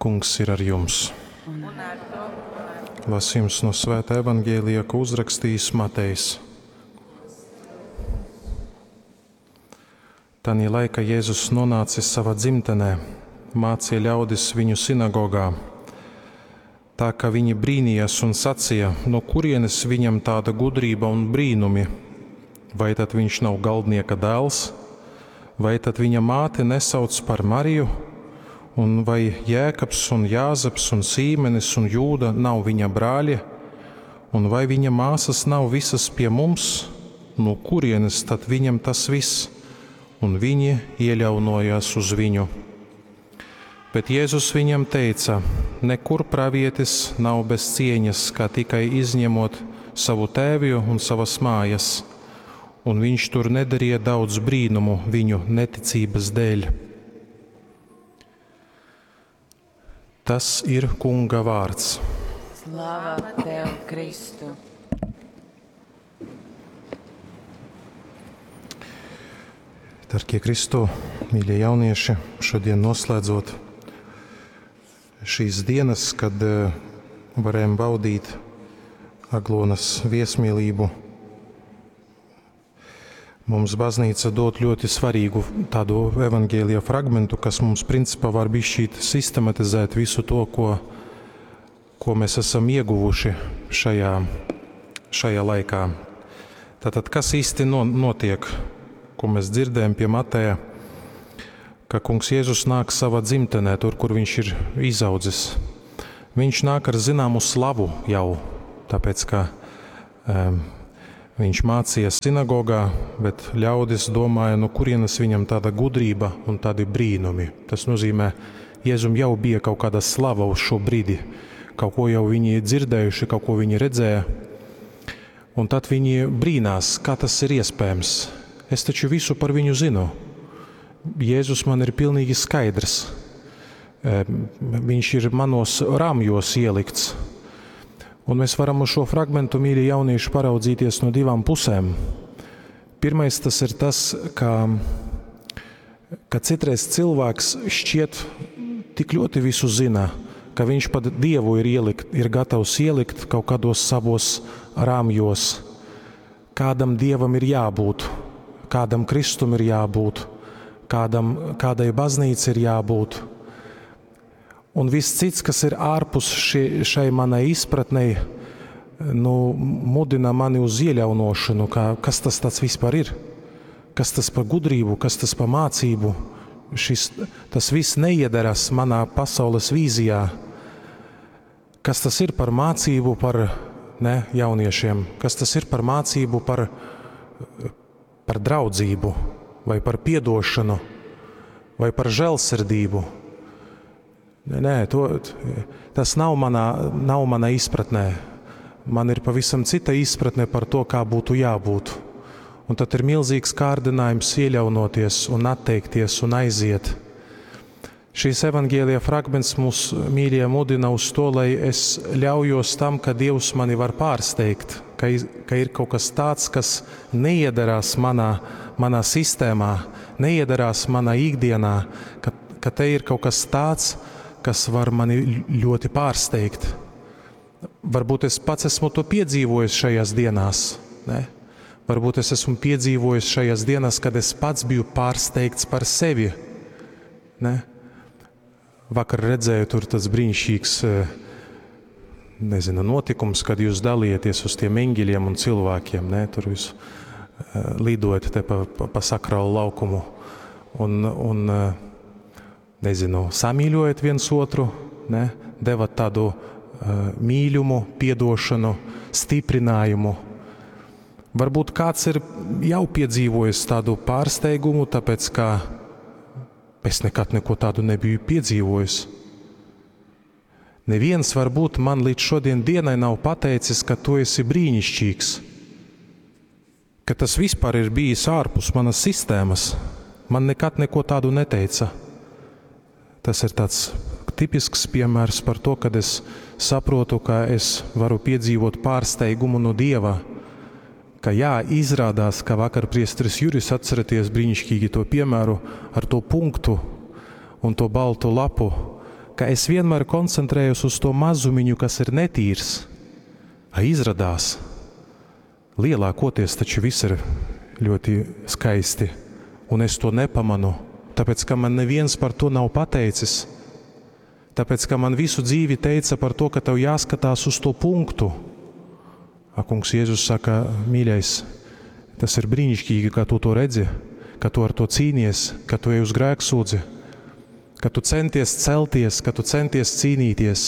Kungs ir ar jums. Un ar tovu goru. Lasījums no Svētā Evangelija, ko uzrakstījis Matejs. Tanī laika Jēzus nonācis savā dzimtenē, mācīja ļaudis viņu sinagogā. Tā ka viņi brīnījās un sacīja, no kurienes viņam tāda gudrība un brīnumi? Vai tad viņš nav galdnieka dēls? Vai tad viņa māte nesauc par Mariju? Un vai Jēkabs un Jāzeps un Sīmenis un Jūda nav viņa brāļi? Un vai viņa māsas nav visas pie mums? No kurienes tad viņam tas viss? Un viņi ieļaunojās uz viņu. Bet Jēzus viņam teica: Nekur pravietis nav bez cieņas, kā tikai izņemot savu tēvju un savas mājas. Un viņš tur nedarīja daudz brīnumu viņu neticības dēļ. Tas ir Kunga vārds. Slava tev, Kristu! Darbie Kristu, mīļie jaunieši, šodien noslēdzot šīs dienas, kad eh, varējām baudīt Aglonas viesmīlību, mums baznīca dod ļoti svarīgu tādu evaņģēlija fragmentu, kas mums principā var bišķīt sistematizēt visu to, ko, ko mēs esam ieguvuši šajā, šajā laikā. Tātad, kas īsti notiek, ko mēs dzirdējam pie Mateja, ka kungs Jēzus nāk savā dzimtenē, tur, kur viņš ir izaudzis. Viņš nāk ar zināmu slavu jau, tāpēc, ka um, viņš mācīja sinagogā, bet ļaudis domāja, no kurienes viņam tāda gudrība un tādi brīnumi. Tas nozīmē, Jēzum jau bija kaut kāda slava uz šo brīdi, kaut ko jau viņi dzirdējuši, kaut ko viņi redzēja. Un tad viņi brīnās, kā tas ir iespējams. Es taču visu par viņu zinu. Jēzus man ir pilnīgi skaidrs. Viņš ir manos rāmjos ielikts. Un mēs varam uz šo fragmentu, mīļie jaunieši, paraudzīties no divām pusēm. Pirmais tas ir tas, ka, ka citreiz cilvēks šķiet tik ļoti visu zina, ka viņš pat Dievu ir, ielikt, ir gatavs ielikt kaut kādos savos rāmjos. Kādam Dievam ir jābūt, kādam Kristum ir jābūt, kādam, kādai baznīca ir jābūt. Un viss cits, kas ir ārpus šie, šai manai izpratnei, nu, mudina mani uz ieļaunošanu, ka, kas tas tāds vispār ir, kas tas par gudrību, kas tas par mācību. Šis, tas viss neiedaras manā pasaules vīzijā. Kas tas ir par mācību par ne, jauniešiem, kas tas ir par mācību par, par draudzību, vai par piedošanu, vai par žēlsirdību. Nē, nē, to, tas nav manā, nav manā izpratnē. Man ir pavisam cita izpratne par to, kā būtu jābūt. Un tad ir milzīgs kārdinājums ieļaunoties un atteikties un aiziet. Šīs evaņģēlija fragments mūs, mīļie, mudina uz to, lai es ļaujos tam, ka Dievs mani var pārsteigt, ka, ka ir kaut kas tāds, kas neiedarās manā, manā sistēmā, neiedarās manā ikdienā, ka, ka te ir kaut kas tāds, kas var mani ļoti pārsteigt. Varbūt es pats esmu to piedzīvojis šajās dienās, ne? Varbūt es esmu piedzīvojis šajās dienās, kad es pats biju pārsteigts par sevi. Ne? Vakar redzēju tur tas brīnišķīgs, nezinu, notikums, kad jūs dalieties uz tiem eņģeļiem un cilvēkiem, ne? Tur jūs lidojat te pa, pa, pa sakrālu laukumu un, un nezinu, samīļojat viens otru, ne? Devat tādu mīļumu, piedošanu, stiprinājumu. Varbūt kāds ir jau piedzīvojis tādu pārsteigumu, tāpēc ka es nekad neko tādu nebiju piedzīvojis. Neviens varbūt man līdz šodien dienai nav pateicis, ka tu esi brīnišķīgs, ka tas vispār ir bijis ārpus manas sistēmas. Man nekad neko tādu neteica. Tas ir tāds tipisks piemērs par to, kad es saprotu, ka es varu piedzīvot pārsteigumu no Dieva, ka jā, izrādās, ka vakar priesteris Juris atceraties brīnišķīgi to piemēru ar to punktu un to baltu lapu. ka es vienmēr koncentrējos uz to mazumiņu, kas ir netīrs. A izradās, lielākoties taču viss ir ļoti skaisti, un es to nepamanu, tāpēc, ka man neviens par to nav pateicis. Tāpēc, ka man visu dzīvi teica par to, ka tev jāskatās uz to punktu. A kungs Jēzus saka, mīļais, tas ir brīnišķīgi, ka tu to redzi, ka tu ar to cīnies, ka tu ej uz grēksūdzi, ka tu centies celties, ka tu centies cīnīties,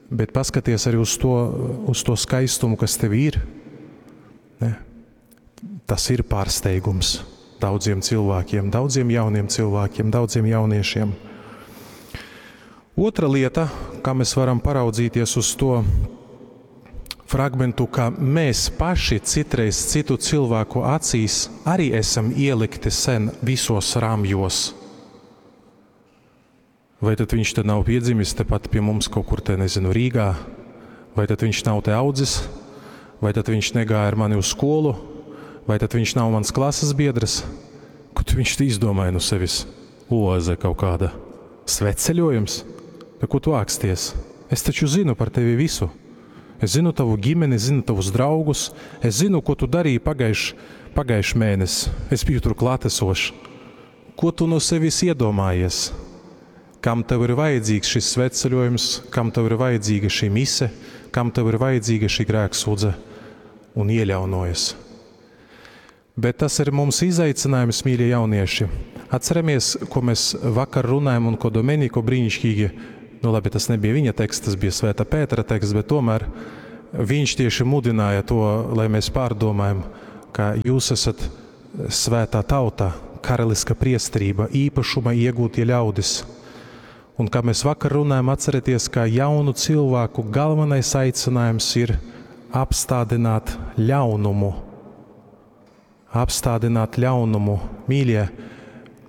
bet paskaties arī uz to skaistumu, kas tev ir. Ne? Tas ir pārsteigums daudziem cilvēkiem, daudziem jauniem cilvēkiem, daudziem jauniešiem. Otra lieta, kā mēs varam paraudzīties uz to fragmentu, ka mēs paši citreiz citu cilvēku acīs arī esam ielikti sen visos rāmjos. Vai tad viņš te nav piedzimis tepat pie mums kaut kur te, nezinu, Rīgā? Vai tad viņš nav te audzis? Vai tad viņš negāja ar mani uz skolu? Vai tad viņš nav mans klases biedrs? Ko tu viņš te izdomāja no sevis? Oaze kaut kāda. Svētceļojums? Da ko tu āksties? Es taču zinu par tevi visu. Es zinu tavu ģimeni, zinu tavus draugus, es zinu, ko tu darīji pagājuš mēnesi. Es biju tur klātesošs. Ko tu no sevis iedomājies? Kam tev ir vajadzīgs šis svētceļojums, kam tev ir vajadzīga šī mise, kam tev ir vajadzīga šī grēksūdze? Un ieļaunojas. Bet tas ir mums izaicinājums, mīļie jaunieši. Atceramies, ko mēs vakar runājam un ko Domenico brīnišķīgi, nu labi, tas nebija viņa teksts, tas bija Svētā Pētera teksts, bet tomēr viņš tieši mudināja to, lai mēs pārdomājam, ka jūs esat svētā tauta, karaliska priesterība, īpašuma iegūtie ļaudis. Un kā mēs vakar runājam, atcerieties, ka jaunu cilvēku galvenais aicinājums ir apstādināt ļaunumu. Apstādināt ļaunumu. Mīļie,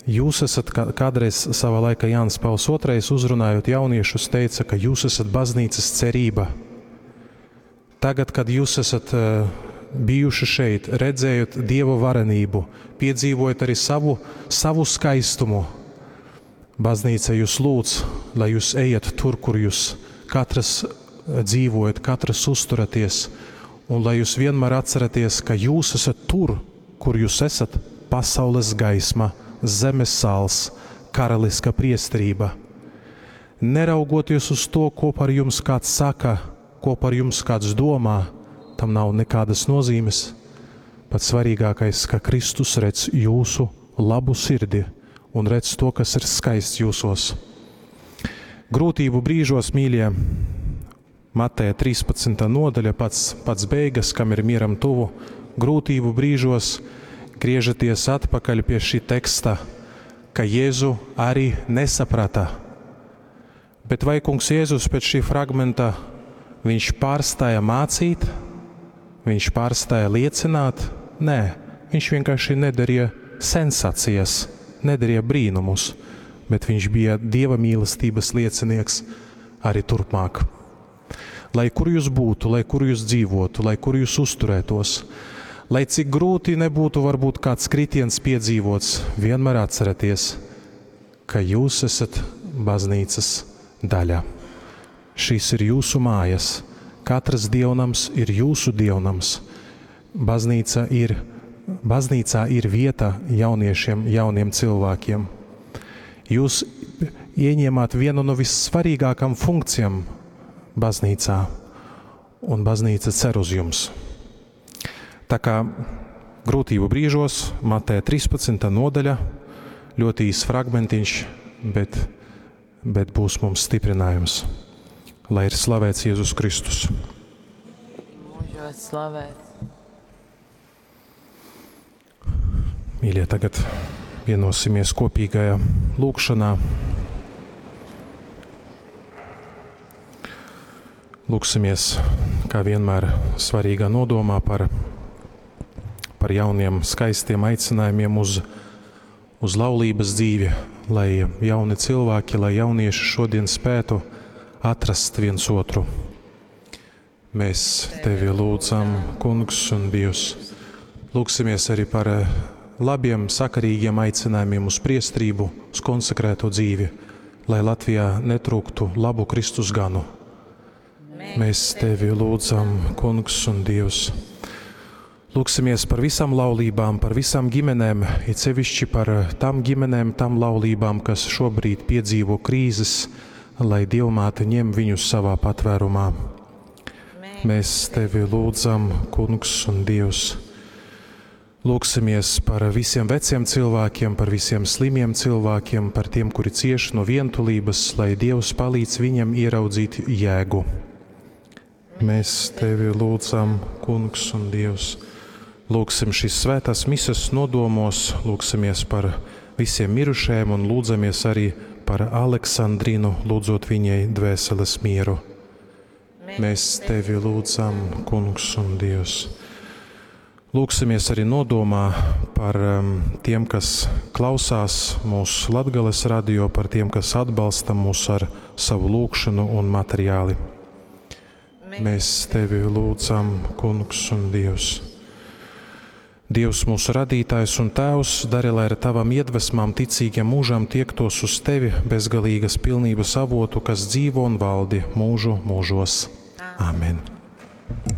jūs esat kādreiz savā laikā Jānis Pauls II uzrunājot jauniešus teica, ka jūs esat baznīcas cerība. Tagad, kad jūs esat bijuši šeit, redzējot Dieva varenību, piedzīvojot arī savu skaistumu, baznīca jūs lūdz, lai jūs ejat tur, kur jūs katrs dzīvojat, katrs uzturaties, un lai jūs vienmēr atceraties, ka jūs esat tur, kur jūs esat, pasaules gaisma, zemes sāls, karaliska priesterība. Neraugoties uz to, ko par jums kāds saka, ko par jums kāds domā, tam nav nekādas nozīmes. Pats svarīgākais, ka Kristus redz jūsu labu sirdi un redz to, kas ir skaists jūsos. Grūtību brīžos, mīļie, Mateja 13. nodaļa, pats beigas, kam ir mieram tuvu, grūtību brīžos griežaties atpakaļ pie šī teksta, ka Jēzu arī nesaprata. Bet vai kungs Jēzus pēc šī fragmenta viņš pārstāja mācīt, viņš pārstāja liecināt? Nē, viņš vienkārši nedarīja sensācijas, nedarīja brīnumus, bet viņš bija Dieva mīlestības liecinieks arī turpmāk. Lai kur jūs būtu, lai kur jūs dzīvotu, lai kur jūs uzturētos, lai cik grūti nebūtu varbūt kāds kritiens piedzīvots, vienmēr atcerieties, ka jūs esat baznīcas daļa. Šīs ir jūsu mājas, katrs dievnams ir jūsu dievnams. Baznīcā ir vieta jauniešiem, jauniem cilvēkiem. Jūs ieņēmāt vienu no vissvarīgākām funkcijām baznīcā, un baznīca cer uz jums. Tā kā grūtību brīžos, Mateja 13. nodaļa, ļoti īs fragmentiņš, bet būs mums stiprinājums. Lai ir slavēts Jēzus Kristus. Mūžos slavēts. Mīļie, tagad vienosimies kopīgajā lūgšanā. Lūgsimies, kā vienmēr, svarīgā nodomā par jauniem skaistiem aicinājumiem uz laulības dzīvi, lai jauni cilvēki, lai jaunieši šodien spētu atrast viens otru. Mēs tevi lūdzam, Kungs un Dievs. Lūgsimies arī par labiem, sakarīgiem aicinājumiem uz priestrību, uz konsekrēto dzīvi. lai Latvijā netrūktu labu Kristus ganu. Mēs Tevi lūdzam, Kungs un Dievs. Lūksimies par visām laulībām, par visām ģimenēm, it sevišķi par tām ģimenēm, tām laulībām, kas šobrīd piedzīvo krīzes, lai Dievmāte ņem viņus savā patvērumā. Mēs Tevi lūdzam, Kungs un Dievs. Lūksimies par visiem veciem cilvēkiem, par visiem slimiem cilvēkiem, par tiem, kuri cieš no vientulības, lai Dievs palīdz viņiem ieraudzīt jēgu. Mēs Tevi lūdzam, Kungs un Dievs. Lūksim šīs svētās mises nodomos, lūksimies par visiem mirušajiem un lūdzamies arī par Aleksandrinu, lūdzot viņai dvēseles mieru. Mēs Tevi lūdzam, Kungs un Dievs. Lūksimies arī nodomā par um, tiem, kas klausās mūsu Latgales radio, par tiem, kas atbalsta mūs ar savu lūgšanu un materiāli. Mēs Tevi lūdzam, Kungs un Dievs. Dievs mūsu radītājs un Tēvs, dari, lai ar Tavām iedvesmām ticīgiem mūžām tiektos uz Tevi bezgalīgas pilnības avotu, kas dzīvo un valdi mūžu mūžos. Amen.